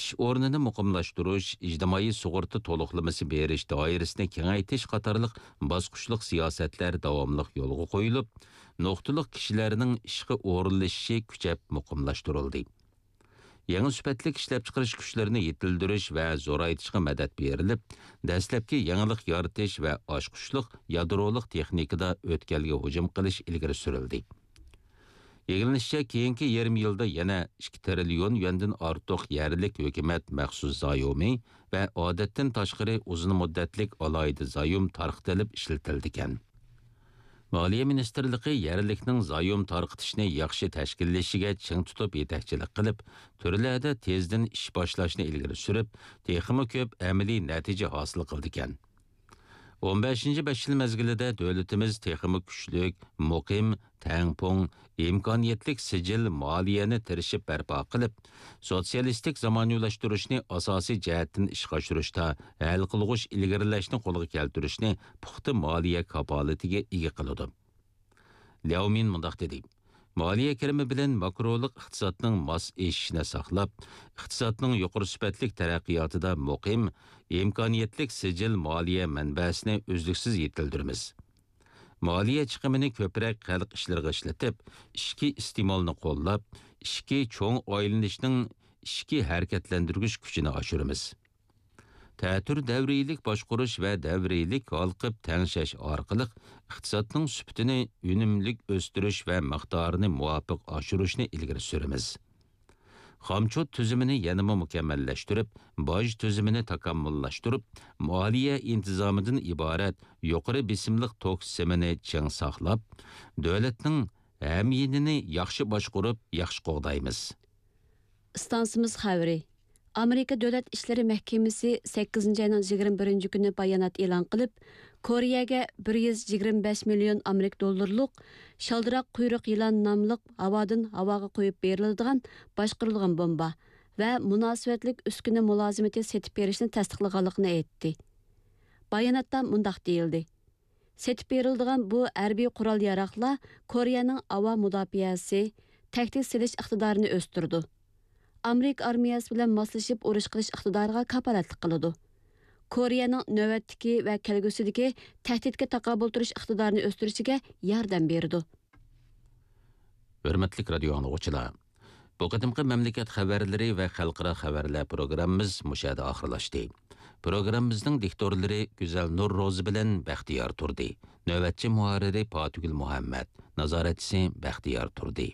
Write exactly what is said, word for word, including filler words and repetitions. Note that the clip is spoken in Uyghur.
ئىش ئورنىنى مۇقىملاشتۇرۇش، ئىجتىمائىي سۇغۇرتا تولۇقلىمىسى بېرىش دائىرىسىنى كېڭەيتىش قاتارلىق باسقۇچلۇق سىياسەتلەر داۋاملىق يولغا قويۇلۇپ، نۇقتىلىق كىشىلەرنىڭ ئىشقا ئورۇنلىشىشى كۈچەپ مۇقىملاشتۇرۇلدى. يېڭى سۈپەتلىك ئىشلەپچىقىرىش كۈچلىرىنى يېتىلدۈرۈش ۋە زورايتىشقا مەدەت بېرىلىپ، دەسلەپكى يېڭىلىق يارىتىش ۋە ئاچقۇچلۇق يادرولۇق تېخنىكىدا ئۆتكەلگە ھۇجۇم قىلىش ئىلگىرى سۈرۈلدى. ئىگىلىنىشىچە، كېيىنكى يېرىم يىلدا يەنە ئىككى تىرىليون يۈەندىن ئارتۇق يەرلىك ھۆكۈمەت مەخسۇس زايومى ۋە ئادەتتىن تاشقىرى ئۇزۇن مۇددەتلىك ئالاھىدە زايوم تارقىتىلىپ ئىشلىتىلىدىكەن. مالىيە مىنىستىرلىقى يەرلىكنىڭ زايوم تارقىتىشنى ياخشى تەشكىللىشىگە چىڭ تۇتۇپ يېتەكچىلىك قىلىپ، تۈرلەردە تېزدىن ئىش باشلاشنى ئىلگىرى سۈرۈپ، تېخىمۇ كۆپ ئەمەلىي نەتىجە ھاسىل قىلىدىكەن. ئون بەشىنچى بەش يىل مەزگىلىدە دۆلىتىمىز تېخىمۇ كۈچلۈك، مۇقىم، تەڭپۇڭ، ئىمكانىيەتلىك سىجىل مالىيەنى تىرىشىپ بەرپا قىلىپ، سوتسىيالىستىك زامانىۋىلاشتۇرۇشنى ئاساسىي جەھەتتىن ئىشقا ئاشۇرۇشتا ھەل قىلغۇچ ئىلگىرىلەشنى قولغا كەلتۈرۈشنى پۇختا مالىيە كاپالىتىگە ئىگە قىلىدۇ. لياۋ مىن مۇنداق دېدى: مالىيە كىرىمى بىلەن ماكرولۇق ئىقتىسادنىڭ ماس ئېشىشىنى ساقلاپ، ئىقتىسادنىڭ يۇقىرى سۈپەتلىك تەرەققىياتىدا مۇقىم، ئىمكانىيەتلىك سىجىل مالىيە مەنبەسىنى ئۈزلۈكسىز يېتىلدۈرىمىز. مالىيە چىقىمىنى كۆپرەك خەلق ئىشلىرىغا ئىشلىتىپ، ئىچكى ئىستېمالنى قوللاپ، ئىچكى چوڭ ئايلىنىشنىڭ ئىچكى ھەرىكەتلەندۈرگۈچ كۈچىنى ئاشۇرىمىز. تەتۈر دەۋرىيلىك باشقۇرۇش ۋە دەۋرىيلىك ھالقىپ تەڭشەش ئارقىلىق ئىقتىسادنىڭ سۈپىتىنى ئۈنۈملۈك ئۆستۈرۈش ۋە مىقدارىنى مۇۋاپىق ئاشۇرۇشنى ئىلگىرى سۈرىمىز. خامچوت تۈزۈمىنى يەنىمۇ مۇكەممەللەشتۈرۈپ، باج تۈزۈمىنى تاكامۇللاشتۇرۇپ، مالىيە ئىنتىزامىدىن ئىبارەت يۇقىرى بېسىملىق توك سىمىنى چىڭ ساقلاپ، دۆلەتنىڭ ھەميىنىنى ياخشى باشقۇرۇپ، ياخشى قوغدايمىز. ئىستانسىمىز خەۋىرى. ئامېرىكا دۆلەت ئىشلىرى مەھكىمىسى سەككىزىنچى ئاينىڭ يىگىرمە بىرىنچى كۈنى بايانات ئېلان قىلىپ، كورېيەگە بىر يۈز يىگىرمە بەش مىليون ئامېرىكا دوللىرىلىق شالدىراق قۇيرۇق يىلان ناملىق ھاۋادىن ھاۋاغا قويۇپ بېرىلىدىغان باشقۇرۇلغان بومبا ۋە مۇناسىۋەتلىك ئۈسكۈنە مۇلازىمىتى سېتىپ بېرىشنى تەستىقلىغانلىقىنى ئېيتتى. باياناتتا مۇنداق دېيىلدى: سېتىپ بېرىلىدىغان بۇ ھەربىي قورال-ياراغلار كورېيەنىڭ ھاۋا مۇداپىئەسى، تەھدىت سېلىش ئىقتىدارىنى ئۆستۈرىدۇ. ئامېرىكا ئارمىيەسى بىلەن ماسلىشىپ ئۇرۇش قىلىش ئىقتىدارىغا كاپالەتلىك قىلىدۇ. كورېيەنىڭ نۆۋەتتىكى ۋە كەلگۈسىدىكى تەھدىتكە تاقابىل تۇرۇش ئىقتىدارىنى ئۆستۈرۈشىگە ياردەم بېرىدۇ. ھۆرمەتلىك رادىيو ئاڭلىغۇچىلار، بۇ قېتىمقى مەملىكەت خەۋەرلىرى ۋە خەلقئارا خەۋەرلەر پروگراممىمىز مۇشۇ يەردە ئاخىرلاشتى. پروگراممىمىزنىڭ دىكتورلىرى گۈزەل نۇر روزى بىلەن بەختىيار تۇردى. نۆۋەتچى مۇھەررىرى پاتىگۈل مۇھەممەت، نازارەتچىسى بەختىيار تۇردى.